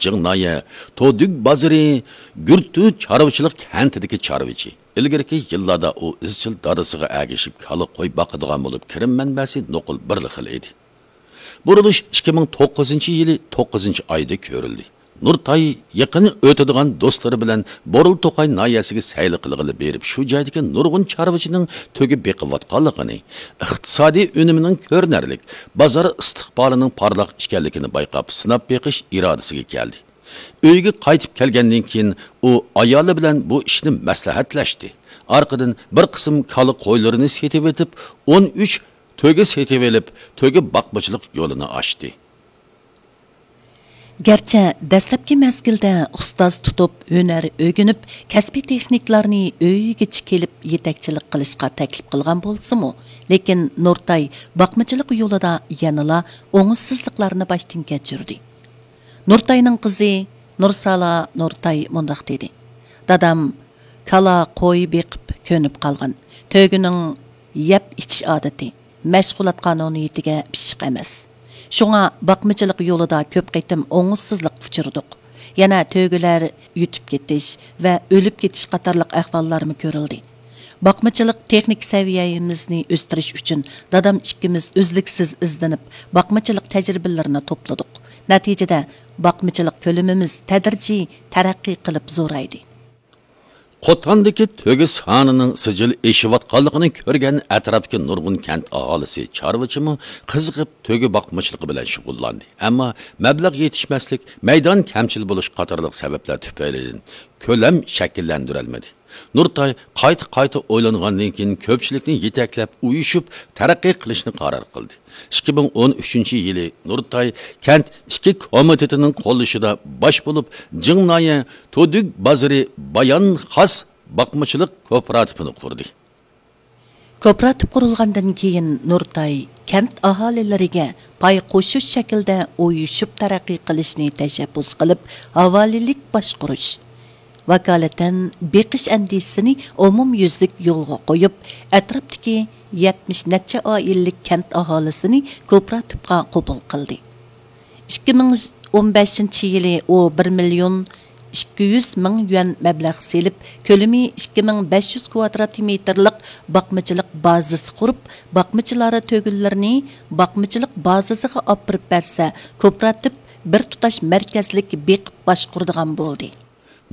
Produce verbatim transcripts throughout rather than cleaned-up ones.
جىڭ نايە تودۈگ بازىرى گۈرتۈ چارۋىچىلىق كەنتىدىكى چارۋىچى. ئىلگىرىكى يىللاردا ئۇ ئىزچىل دادىسىغا ئەگىشىپ كالا، قوي باقىدىغان بولۇپ، كىرىم مەنبەسى نوقۇل بىرلا خىل ئىدى. بۇرۇلۇش ئىككى مىڭ توققۇزىنچى يىلى توققۇزىنچى ئايدا كۆرۈلدى. نۇرتاي يېقىن ئۆتىدىغان دوستلىرى بىلەن بورۇلتوقاي ناھىيەسىگە سەيلە قىلغىلى بېرىپ، شۇ جايدىكى نۇرغۇن چارۋىچىنىڭ تۆگە بېقىۋاتقانلىقىنى، ئىقتىسادىي ئۈنۈمىنىڭ كۆرۈنەرلىك، بازار ئىستىقبالىنىڭ پارلاق ئىكەنلىكىنى بايقاپ، سىناپ بېقىش ئىرادىسىگە كەلدى. ئۆيىگە قايتىپ كەلگەندىن كېيىن، ئۇ ئايالى بىلەن بۇ ئىشنى مەسلىھەتلەشتى. ئارقىدىن بىر قىسىم كالا، قويلىرىنى سېتىۋېتىپ، ئون ئۈچ تۆگە سېتىۋېلىپ، تۆگە باقمىچىلىق يولىنى ئاچتى. گەرچە دەسلەپكى مەزگىلدە ئۇستاز تۇتۇپ، ھۈنەر ئۆگىنىپ، كەسپىي تېخنىكلارنى ئۆيىگىچە كېلىپ يېتەكچىلىك قىلىشقا تەكلىپ قىلغان بولسىمۇ، لېكىن نۇرتاي باقمىچىلىق يولىدا يەنىلا ئوڭۇشسىزلىقلارنى باشتىن كەچۈردى. نۇرتاينىڭ قىزى نۇرسالا نۇرتاي مۇنداق دېدى: دادام كالا، قوي بېقىپ كۆنۈپ قالغان. تۆگىنىڭ يەپ ئىچىش ئادىتى، مەشغۇلات قانۇنىيىتىگە پىششىق ئەمەس. شۇڭا باقمىچىلىق يولىدا كۆپ قېتىم ئوڭۇشسىزلىققا ئۇچرىدۇق. يەنە تۆگىلەر يۈتۈپ كېتىش ۋە ئۆلۈپ كېتىش قاتارلىق ئەھۋاللارمۇ كۆرۈلدى. باقمىچىلىق تېخنىكا سەۋىيەمىزنى ئۆستۈرۈش ئۈچۈن دادام ئىككىمىز ئۈزلۈكسىز ئىزدىنىپ، باقمىچىلىق تەجرىبىلىرىنى توپلىدۇق. نەتىجىدە، باقمىچىلىق كۆلىمىمىز تەدرىجىي تەرەققىي قىلىپ زورايدى. قوتاندىكى تۆگە سانىنىڭ سىجىل ئېشىۋاتقانلىقىنى كۆرگەن ئەتراپتىكى نۇرغۇن كەنت ئاھالىسى، چارۋىچىمۇ قىزىقىپ تۆگە باقمىچىلىقى بىلەن شۇغۇللاندى. ئەمما مەبلەغ يېتىشمەسلىك، مەيدان كەمچىل بولۇش قاتارلىق سەۋەبلەر تۈپەيلىدىن كۆلەم شەكىللەندۈرەلمىدى. نۇرتاي قايتا-قايتا ئويلانغاندىن كېيىن، كۆپچىلىكنى يېتەكلەپ، ئۇيۇشۇپ تەرەققىي قىلىشنى قارار قىلدى. ئىككى مىڭ ئون ئۈچىنچى يىلى نۇرتاي كەنت ئىچكى كومىتېتىنىڭ قوللىشىدا باش بولۇپ، جىڭ نايە تودۈگ بازىرى بايان خاس باقمىچىلىق كوپىراتىپىنى قۇردى. كوپىراتىپ قۇرۇلغاندىن كېيىن، نۇرتاي كەنت ئاھالىلىرىگە پاي قوشۇش شەكلىدە ئۇيۇشۇپ تەرەققىي قىلىشنى تەشەببۇس قىلىپ، ھاۋالىلىك باشقۇرۇش، ۋاكالىتەن بېقىش ئەندىزىسىنى ئومۇميۈزلۈك يولغا قويۇپ، ئەتراپتىكى يەتمىش نەچچە ئائىلىلىك كەنت ئاھالىسىنى كوپىراتىپقا قوبۇل قىلدى. ئىككى مىڭ ئون بەشىنچى يىلى ئۇ بىر مىليون ئىككى يۈز مىڭ يۈەن مەبلەغ سېلىپ، كۆلىمى ئىككى مىڭ بەش يۈز كۋادرات مېتىرلىق باقمىچىلىق بازىسى قۇرۇپ، باقمىچىلار تۆگىلىرىنى باقمىچىلىق بازىسىغا ئاپىرىپ بەرسە، كوپىراتىپ بىر تۇتاش مەركەزلىك بېقىپ باشقۇرىدىغان بولدى.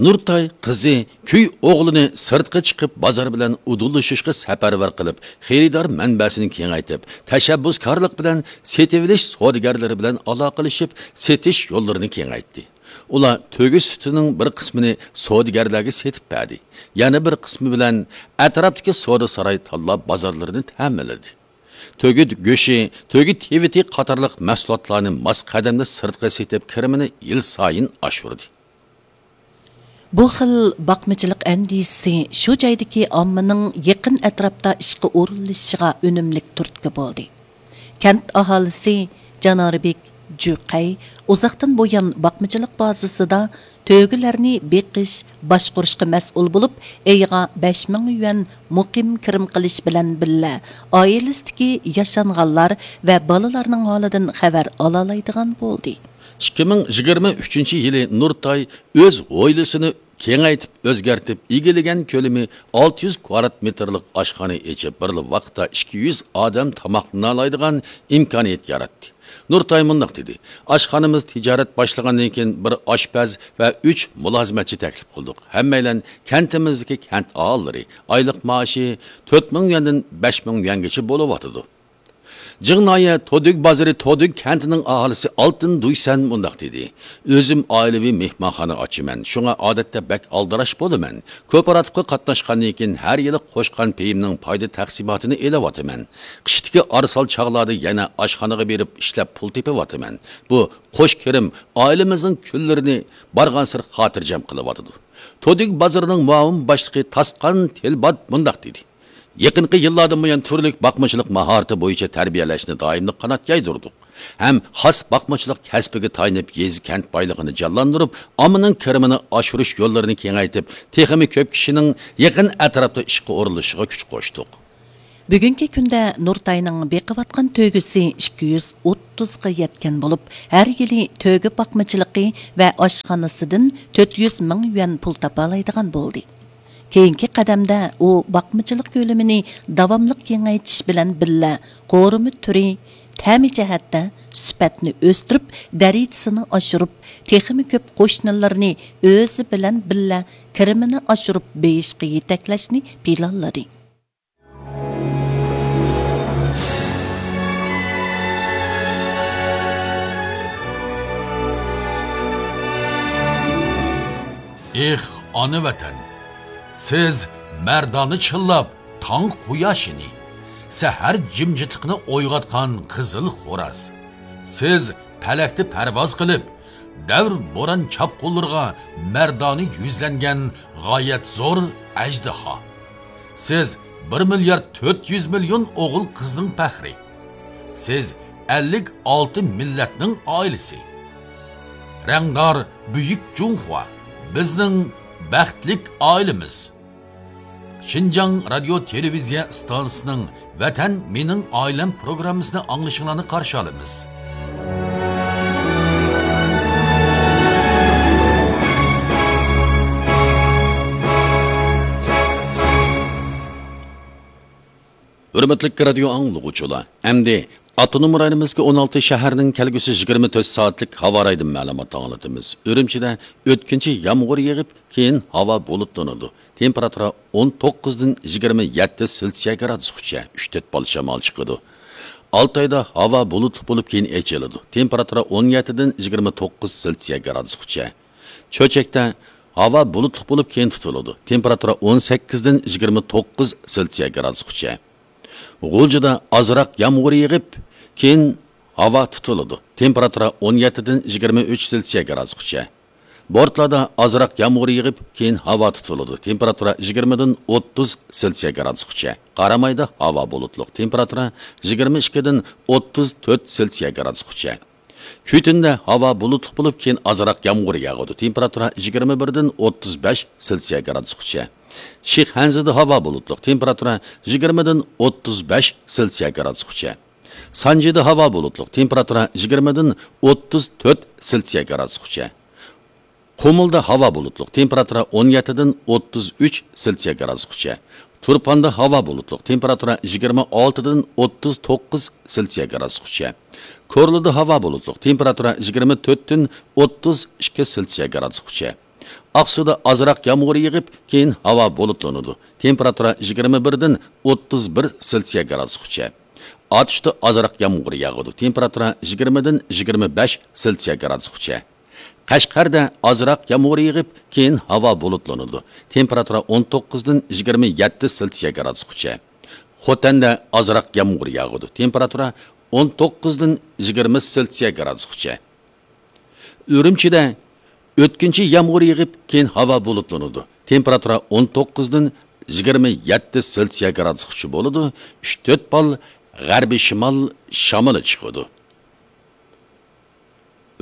نۇرتاي قىزى كۈي ئوغلىنى سىرتقا چىقىپ، بازار بىلەن ئۇدۇللىشىشقا سەپەرۋەر قىلىپ، خېرىدار مەنبەسىنى كېڭەيتىپ، تەشەببۇسكارلىق بىلەن سېتىۋېلىش سودىگەرلىرى بىلەن ئالاقىلىشىپ، سېتىش يوللىرىنى كېڭەيتتى. ئۇلار تۆگە سۈتىنىڭ بىر قىسمىنى سودىگەرلەرگە سېتىپ بەردى، يەنە بىر قىسمى بىلەن ئەتراپتىكى سودا ساراي تاللا بازارلىرىنى تەمىنلىدى. تۆگە گۆشى، تۆگە تىۋىتى قاتارلىق مەھسۇلاتلارنى ماس قەدەمدە سىرتقا سېتىپ، كىرىمىنى يىل سايىن ئاشۇردى. بۇ خىل باقمىچىلىق ئەندىزىسى شۇ جايدىكى ئاممىنىڭ يېقىن ئەتراپتا ئىشقا ئورۇنلىشىشىغا ئۈنۈملۈك تۈرتكە بولدى. كەنت ئاھالىسى جاناربېك جۈقەي ئۇزاقتىن بۇيان باقمىچىلىق بازىسىدا تۆگىلەرنى بېقىش، باشقۇرۇشقا مەسئۇل بولۇپ، ئېيىغا بەش مىڭ يۈەن مۇقىم كىرىم قىلىش بىلەن بىللە، ئائىلىسىدىكى ياشانغانلار ۋە بالىلارنىڭ ھالىدىن خەۋەر ئالالايدىغان بولدى. ئىككى مىڭ يىگىرمە ئۈچىنچى يىلى نۇرتاي ئۆز ھويلىسىنى كېڭەيتىپ، ئۆزگەرتىپ، ئىگىلىگەن كۆلىمى ئالتە يۈز كۋادرات مېتىرلىق ئاشخانا ئېچىپ، بىرلا ۋاقىتتا ئىككى يۈز ئادەم تاماقلىنالايدىغان ئىمكانىيەت ياراتتى. نۇرتاي مۇنداق دېدى: ئاشخانىمىز تىجارەت باشلىغاندىن كېيىن، بىر ئاشپەز ۋە ئۈچ مۇلازىمەتچى تەكلىپ قىلدۇق. ھەممەيلەن كەنتىمىزدىكى كەنت ئاھالىلىرى. ئايلىق مائاشى تۆت مىڭ يۈەندىن بەش مىڭ يۈەنگىچە بولۇۋاتىدۇ. جىڭ ناھىيە تودۈگ بازىرى تودۈگ كەنتىنىڭ ئاھالىسى ئالتىن دۇيسەن مۇنداق دېدى: ئۆزۈم ئائىلىۋى مېھمانخانا ئاچىمەن، شۇڭا ئادەتتە بەك ئالدىراش بولىمەن. كوپىراتىپقا قاتناشقاندىن كېيىن، ھەر يىلى قوشقان پېيىمنىڭ پايدا تەقسىماتىنى ئېلىۋاتىمەن. قىشتىكى ئارىسال چاغلاردا يەنە ئاشخانىغا بېرىپ ئىشلەپ پۇل تېپىۋاتىمەن. بۇ قوش كىرىم ئائىلىمىزنىڭ كۈنلىرىنى بارغانسېرى خاتىرجەم قىلىۋاتىدۇ. تودۈگ بازىرىنىڭ مۇئاۋىن باشلىقى تاسقان تىلبات مۇنداق دېدى: يېقىنقى يىللاردىن بۇيان، تۈرلۈك باقمىچىلىق ماھارىتى بويىچە تەربىيەلەشنى دائىملىق قانات يايدۇردۇق ھەم خاس باقمىچىلىق كەسپىگە تايىنىپ، يېزا، كەنت بايلىقىنى جانلاندۇرۇپ، ئاممىنىڭ كىرىمىنى ئاشۇرۇش يوللىرىنى كېڭەيتىپ، تېخىمۇ كۆپ كىشىنىڭ يېقىن ئەتراپتا ئىشقا ئورۇنلىشىشىغا كۈچ قوشتۇق. بۈگۈنكى كۈندە نۇرتاينىڭ بېقىۋاتقان تۆگىسى ئىككى يۈز ئوتتۇزغا يەتكەن بولۇپ، ھەر يىلى تۆگە باقمىچىلىقى ۋە ئاشخانىسىدىن تۆت يۈز مىڭ يۈەن پۇل تاپالايدىغان بولدى. كېيىنكى قەدەمدە ئۇ باقمىچىلىق كۆلىمىنى داۋاملىق كېڭەيتىش بىلەن بىللە، قورۇما تۈرى، تەمى جەھەتتە سۈپەتنى ئۆستۈرۈپ، دەرىجىسىنى ئاشۇرۇپ، تېخىمۇ كۆپ قوشنىلىرىنى ئۆزى بىلەن بىللە كىرىمىنى ئاشۇرۇپ بېيىشقا يېتەكلەشنى پىلانلىدى. ئېھ، ئانا ۋەتەن! سىز مەردانە چىللاپ تاڭ قۇياشىنى، سەھەر جىمجىتلىقىنى ئويغاتقان قىزىل خوراز. سىز پەلەكتە پەرۋاز قىلىپ، دەۋر بوران چاپقۇنلىرىغا مەردانە يۈزلەنگەن غايەت زور ئەجدىھا. سىز بىر مىليارد تۆت يۈز مىليون ئوغۇل قىزنىڭ پەخرى. سىز ئەللىك ئالتە مىللەتنىڭ ئائىلىسى. رەڭدار بۈيۈك جۇڭخۇا، بىزنىڭ بەختلىك ئائىلىمىز. شىنجاڭ رادىيو تېلېۋىزىيە ئىستانسىسىنىڭ ۋەتەن مېنىڭ ئائىلەم پروگراممىسىنى ئاڭلىشىڭلارنى قارشى ئالىمىز. ھۆرمەتلىك رادىيو ئاڭلىغۇچىلار، ئەمدى ئاپتونوم رايونىمىزدىكى ئون ئالتە شەھەرنىڭ كەلگۈسى يىگىرمە تۆت سائەتلىك ھاۋا رايىدىن مەلۇمات ئاڭلىتىمىز. ئۈرۈمچىدە ئۆتكۈنچى يامغۇر يېغىپ، كېيىن ھاۋا بۇلۇتلىنىدۇ. تېمپېراتۇرا ئون توققۇزدىن يىگىرمە يەتتە سېلسىيە گرادۇسقىچە، ئۈچ تۆت بال شامال چىقىدۇ. ئالتايدا ھاۋا بۇلۇتلۇق بولۇپ، كېيىن ئېچىلىدۇ. تېمپېراتۇرا ئون يەتتىدىن يىگىرمە توققۇز سېلسىيە گرادۇسقىچە. چۆچەكتە ھاۋا بۇلۇتلۇق بولۇپ، كېيىن تۇتۇلىدۇ. تېمپېراتۇرا ئون سەككىزدىن يىگىرمە توققۇز سېلسىيە گرادۇسقىچە. غۇلجىدا ئازراق يامغۇر يېغىپ، كېيىن ھاۋا تۇتۇلىدۇ. تېمپېراتۇرا ئون يەتتىدىن يىگىرمە ئۈچ سېلسىيە گرادۇسقىچە. بورتالادا ئازراق يامغۇر يېغىپ، كېيىن ھاۋا تۇتۇلىدۇ. تېمپېراتۇرا يىگىرمىدىن ئوتتۇز سېلسىيە گرادۇسقىچە. قارامايدا ھاۋا بۇلۇتلۇق. تېمپېراتۇرا يىگىرمە ئىككىدىن ئوتتۇز تۆت سېلسىيە گرادۇسقىچە. كۈتۈندە ھاۋا بۇلۇتلۇق بولۇپ، كېيىن ئازراق يامغۇر ياغىدۇ. تېمپېراتۇرا يىگىرمە بىردىن ئوتتۇز بەش سېلسىيە گرادۇسقىچە. شىخەنزىدە ھاۋا بۇلۇتلۇق. تېمپېراتۇرا يىگىرمىدىن ئوتتۇز بەش سېلسىيە گرادۇسقىچە. سانجىدا ھاۋا بۇلۇتلۇق. تېمپېراتۇرا يىگىرمىدىن ئوتتۇز تۆت سېلسىيە گرادۇسقىچە. قۇمۇلدا ھاۋا بۇلۇتلۇق، تېمپېراتۇرا ئون يەتتىدىن ئوتتۇز ئۈچ سېلسىيە گرادۇسقىچە. تۇرپاندا ھاۋا بۇلۇتلۇق، تېمپېراتۇرا يىگىرمە ئالتىدىن ئوتتۇز توققۇز سېلسىيە گرادۇسقىچە. كورلىدا ھاۋا بۇلۇتلۇق، تېمپېراتۇرا يىگىرمە تۆتتىن ئوتتۇز ئىككى سېلسىيە گرادۇسقىچە. ئاقسۇدا ئازراق يامغۇر يېغىپ، كېيىن ھاۋا بۇلۇتلىنىدۇ. تېمپېراتۇرا يىگىرمە بىردىن ئوتتۇز بىر سېلسىيە گرادۇسقىچە. ئاتۇشتا ئازراق يامغۇر ياغىدۇ. تېمپېراتۇرا يىگىرمىدىن يىگىرمە بەش سېلسىيە گرادۇسقىچە. قەشقەردە ئازراق يامغۇر يېغىپ، كېيىن ھاۋا بۇلۇتلىنىدۇ. تېمپېراتۇرا ئون توققۇزدىن يىگىرمە يەتتە سېلسىيە گرادۇسقىچە. خوتەندە ئازراق يامغۇر ياغىدۇ. تېمپېراتۇرا ئون توققۇزدىن يىگىرمە سېلسىيە گرادۇسقىچە. ئۈرۈمچىدە ئۆتكۈنچى يامغۇر يېغىپ، كېيىن ھاۋا بۇلۇتلىنىدۇ. تېمپېراتۇرا ئون توققۇزدىن يىگىرمە يەتتە سېلسىيە گرادۇسقىچە بولىدۇ. ئۈچ تۆت بال غەربىي شىمال شامىلى چىقىدۇ.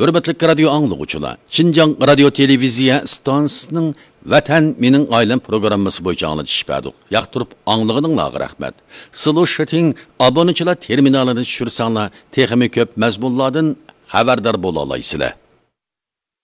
ھۆرمەتلىك رادىيو ئاڭلىغۇچىلار، شىنجاڭ رادىيو تېلېۋىزىيە ئىستانسىسىنىڭ ۋەتەن مېنىڭ ئائىلەم پروگراممىسى بويىچە ئاڭلىتىش بەردۇق. ياقتۇرۇپ ئاڭلىغىنىڭلارغا رەھمەت. سلوشىتىڭ ئابونىچىلار تېرمىنالىنى چۈشۈرسەڭلار، تېخىمۇ كۆپ مەزمۇنلاردىن خەۋەردار بولالايسىلەر.